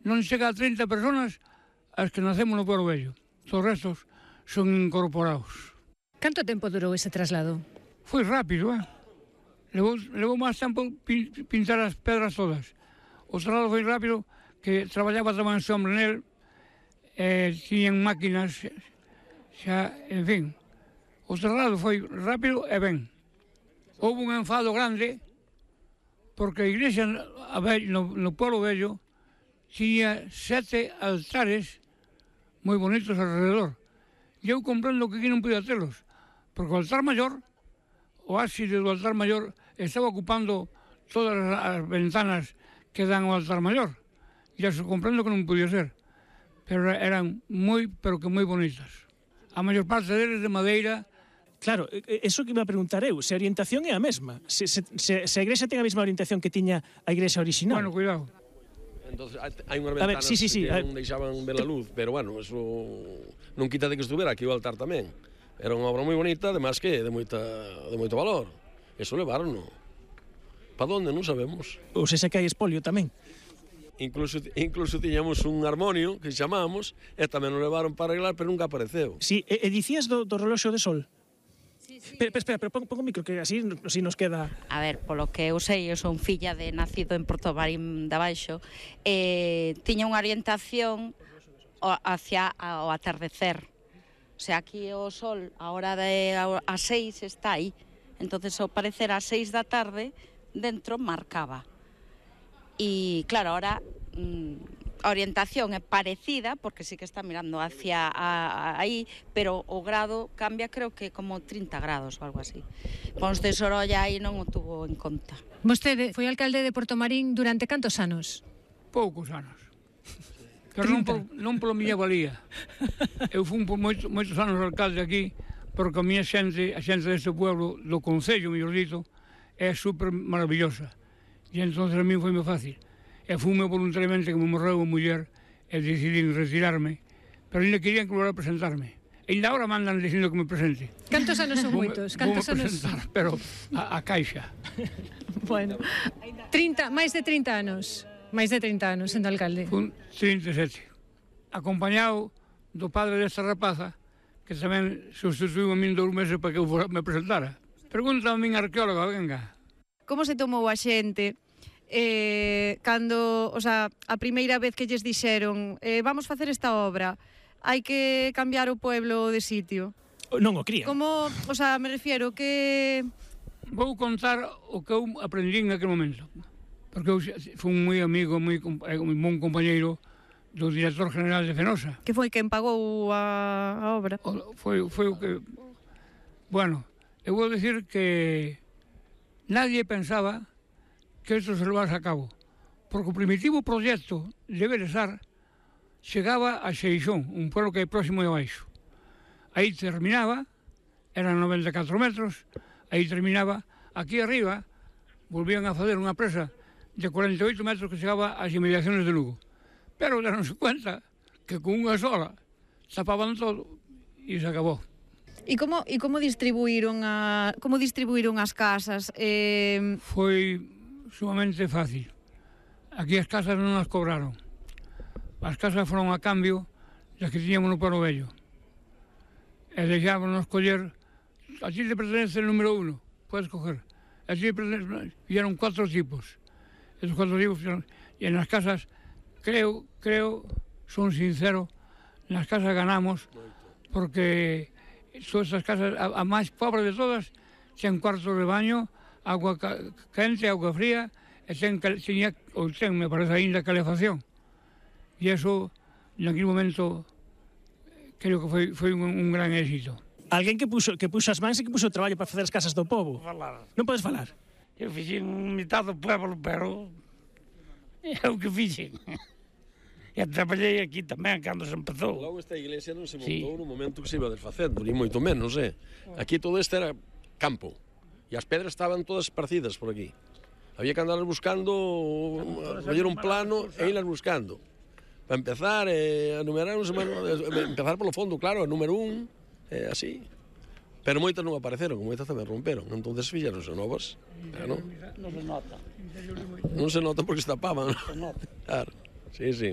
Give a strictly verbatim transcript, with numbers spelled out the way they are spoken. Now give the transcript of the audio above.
non chega a trinta personas as que nacemos no Pueblo Vello. Os restos son incorporados. Canto tempo durou ese traslado? Foi rápido, eh? Levou, levou máis tempo pin, pintar as pedras todas. O traslado foi rápido, que traballaba tamén ese hombre nel, eh, tiñan máquinas, xa, en fin. O traslado foi rápido e ben. Houve un enfado grande, porque a igrexa no, no Pueblo Vello tiña sete altares moi bonitos alrededor. E eu comprendo que aquí non podía telos, porque o altar maior, o ábside do altar maior, estaba ocupando todas as ventanas que dan ao altar maior. E eso comprendo que non podía ser. Pero eran moi, pero que moi bonitas. A maior parte deles de madeira. Claro, eso que iba a preguntar eu, se a orientación é a mesma, se, se, se, se a igrexa ten a mesma orientación que tiña a igrexa original. Bueno, cuidado. Entonces, hai unhas ventanas ver, sí, sí, sí, que non deixaban ver a luz, pero bueno, eso non quita de que estuvera aquí o altar tamén. Era unha obra moi bonita, además que de moita de moito valor. Eso levaron, para onde non sabemos. Ou se se que hai espolio tamén. Incluso, incluso tiñamos un armonio que chamamos e tamén o levaron para arreglar, pero nunca apareceu. Sí, e, e dicías do, do reloxo de sol? Sí, sí. Pero, espera, pero pon, pon o micro, que así, así nos queda... A ver, polo que eu sei, eu son filla de nacido en Porto Marín de Abaixo, eh, tiña unha orientación hacia o atardecer. O sea, aquí o sol, a hora de as seis está aí. Entonces, ao parecer, ás seis da tarde, dentro marcaba. E, claro, ahora... Mmm, a orientación é parecida, porque sí que está mirando hacia a, a, aí, pero o grado cambia, creo que como trinta grados ou algo así. Pons de Sorolla aí non o tuvo en conta. Vostede foi alcalde de Porto Marín durante cantos anos? Poucos anos. Pero non, por, non polo miña valía. Eu fui por moitos, moitos anos alcalde aquí, porque a miña xente, a xente deste pueblo, do concello, mellor dito, é super maravillosa. E entón a mí foi moi fácil. E fume voluntariamente que me morreu a muller e decidí retirarme, pero ainda querían que volver a presentarme. E ainda agora mandan dicindo que me presente. Cantos anos son moitos? Cantos anos? Presentar, pero a, a caixa. Bueno, trinta, máis de trinta anos. Máis de trinta anos sendo alcalde. Fun trinta e sete. Acompañado do padre desta rapaza, que tamén sustituiu a min dous meses para que eu me presentara. Pregunta a min arqueóloga, venga. Como se tomou a xente eh, cando, o sea, a primeira vez que lles dixeron eh, vamos facer esta obra, hai que cambiar o pueblo de sitio? Non o crían. Como, o sea, me refiero que... Vou contar o que eu aprendi en aquel momento, porque eu fui un moi amigo, moi bon compañeiro do director general de Fenosa. Que foi quen pagou a, a obra? O, foi, foi o que... Bueno, eu vou dicir que nadie pensaba que isto se levase a cabo, porque o primitivo proxecto de Belesar chegaba a Xeixón, un pueblo que é próximo de abaixo. Aí terminaba, eran noventa e catro metros, aí terminaba, aquí arriba volvían a fazer unha presa de cuarenta e oito metros que chegaba ás inmediaciones de Lugo. Pero deronse cuenta que con unha sola tapaban todo e se acabou. E como, e como distribuíron a, como distribuíron as casas? Eh... Foi sumamente fácil. Aquí as casas non as cobraron. As casas foron a cambio das que tiñamos no Pueblo Vello. E deixámonos coller, a ti te pertenece el número uno, puedes coger. A ti te pertenece, vieron cuatro tipos. Esos cuatro tipos, e en las casas, creo, creo, son sincero, nas casas ganamos, porque todas estas casas, a, a máis pobre de todas, ten cuartos de baño, agua quente, agua fría, e ten, tenía, ou ten, me parece ainda, calefacción. E eso, en aquel momento, creo que foi, foi un, un gran éxito. Alguén que puxo, que puxo as mans e que puxo o traballo para facer as casas do povo. Falar. Non podes falar? Eu fixen mitad do pueblo, pero é o que fixen. E traballei aquí tamén, cando se empezou. Logo esta iglesia non se montou sí. no momento que se iba desfacendo, ni moito menos, eh? Aquí todo este era campo. E as pedras estaban todas esparcidas por aquí. Había que andar buscando, fazer un plano e irlas buscando. Para empezar, eh, a numerar, empezar polo fondo, claro, a número un, eh, así. Pero moitas non apareceron, moitas tamén romperon. Entonces fixeronse novas. Eh, non? Non se nota. Non se nota porque se tapaban. Se nota. Claro, sí, sí.